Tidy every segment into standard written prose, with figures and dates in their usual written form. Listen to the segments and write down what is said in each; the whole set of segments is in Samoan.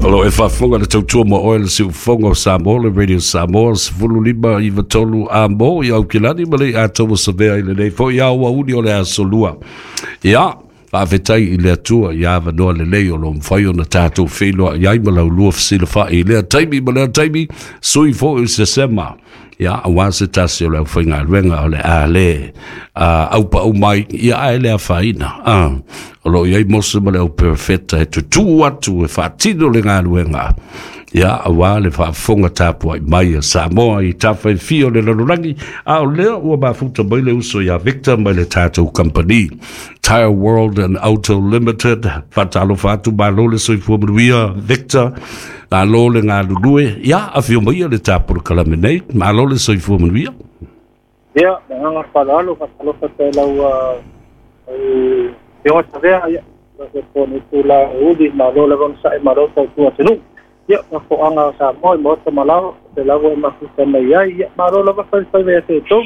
O lo e faafofoga le tautua ma oe le siufofoga o Samoa, le Radio Samoa, 1593 a mo i Aukilani ma le atoa savea i lenei foi aoauli o le aso Lua. Ia, faafetai i le Atua ia avanoa lelei o lo mafai ona tatou feiloai ai ma laulua fesilafai i lea taimi ma lea taimi, sui foi o sesema. Ia, aua se tasi o le aufaigaluega o le a le aupau mai, ia ae le afaina. O lo o i ai Mose ma le au perofeta e tutū atu e faatino le galuega. Ia, aua le faafofoga tapuai mai a Samoa i tafa e fia o le lalolagi, a o lea ua mafuta mai le uso ia Victor mai le tatou company Tire World and Auto Limited. Faatalofa atu, malo le soifua manuia, Victor. Malo le galulue. Ia, afio mai le tapolokalame nei. Malo le soifua manuia. Ia, le agaga faaaloalo, faatalofa te lau afioga Savea, ia, po ni tula uli, malo lava ona sa'i, malo tautua atunuu. Ia, mafoaga o Samoa i maota malao, te lava e mafuta mai ai, ia, malo lava faifaiva ia te tou.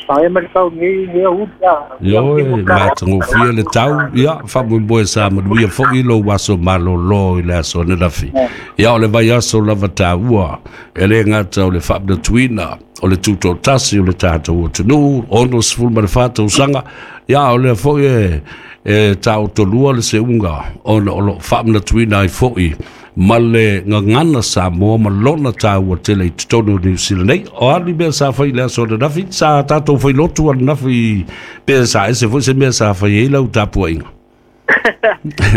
Pae mai le tau nei, nei uli, ia. Ioe, matagofie le tau, ia, faamoemoe sa manuia foi lou aso malōlō i le aso ananafi. Ia, o le vaiaso lava taua, e le gata o le faamanatuina o le tutoatasi o le tatou atunuu, 64 tausaga, ia, o lea foi e taotolua le seuga ona o lo o faamanatuina ai foi ma le gagana Samoa ma lona taua tele i totonu o Niu Sila nei. O a ni mea sa fai i le aso ananafi? Sa tatou failotu ananafi pe sa ese foi se mea sa fai ai lau tapuaiga?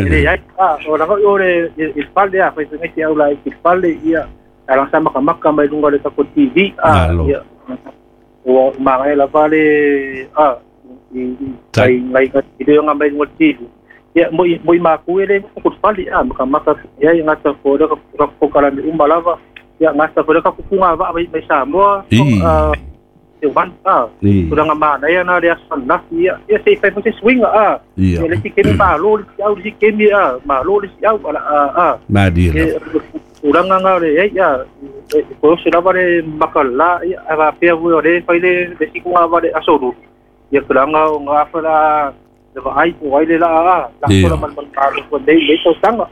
Le ai, o la o le i fale a fai fai au la i fale ia ala sa maka maka mai lunga le tako TV a ia ua magai lava le a i ai ngai i le nga mai lunga TV ia moi moi ma ku ele ko fale a maka maka ia ngata ko le ko kala mi uma lava ia ngata ko le ka kukunga va mai mai Samoa e wan a tulaga manaia na le aso ananafi ia ia se i fai foi se suiga a ia le isi kemi malo le isi au le isi kemi a malo le isi au ala a a malie lava tulaga na le ai ia e koose lava le makalā ia a faapea foi o le fai le le isi kuga va le aso lulu ia tulaga o gafa la le vaai po ai le laa a lafola malumalu malo nei nei tausaga.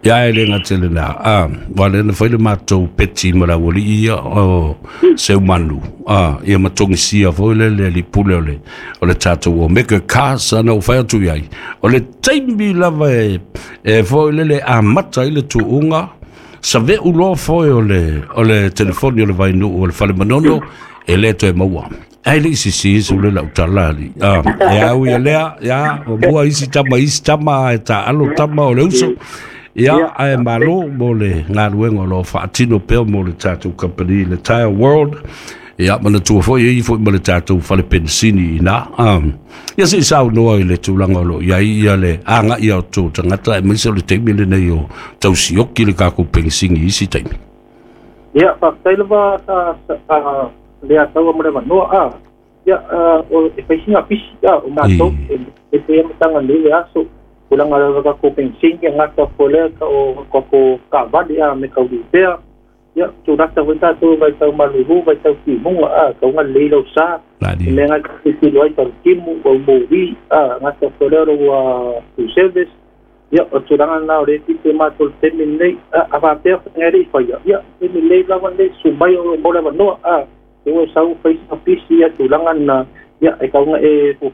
Ia e le gatele na a wa le na fai le matou peti ma la ualii ia o Seumanu a ia ma togisia foi le le pule o le tatou Omega Cars ana o fai atu iai o le taimi lava e foi le le amata ai le tuuga save'u loa foi o le telefoni o le Vainuu o le fale Manono e le toe maua. Ai le isi si su le lau tala ali. Ah, e au ia lea, ia, o mua isi tama, e ta alo tama o le uso. Ia, ae malo mo le galuega o lo o faatino pea mo le tatou company, le Tire World. Ia, manatua foi e i foi ma le tatou fale penisini ina. Ia se i saunoa i le tulaga o lo o i ai ia le aga'i o tou tagata aemaise o le taimi lenei o tausioki le tatou penisini i isi taimi. Ia, faafetai lava sa le ataua mo le avanoa a. Ia, o e faisiga pisi a o matou e pe amataga nei le aso. Tulaga lava tatou penisini gata fo lea ka o tatou taavale a me kaulipea. Ia, tulata foi tatou vaitau malulu, vaitau timuga a, kauga lelei lau sa. Malie. Mea ngai tilotilo ai talutimu, o moli a, gata fo lea lau full service. Ia, o tulaga na o le pito matou le taimi lenei. A faapea faiga e le i faia, ia, taimi lelei lava lenei, susu mai o mo le avanoa a. E ua sau faisiga pisi ia tulaga na, ia, e kauga e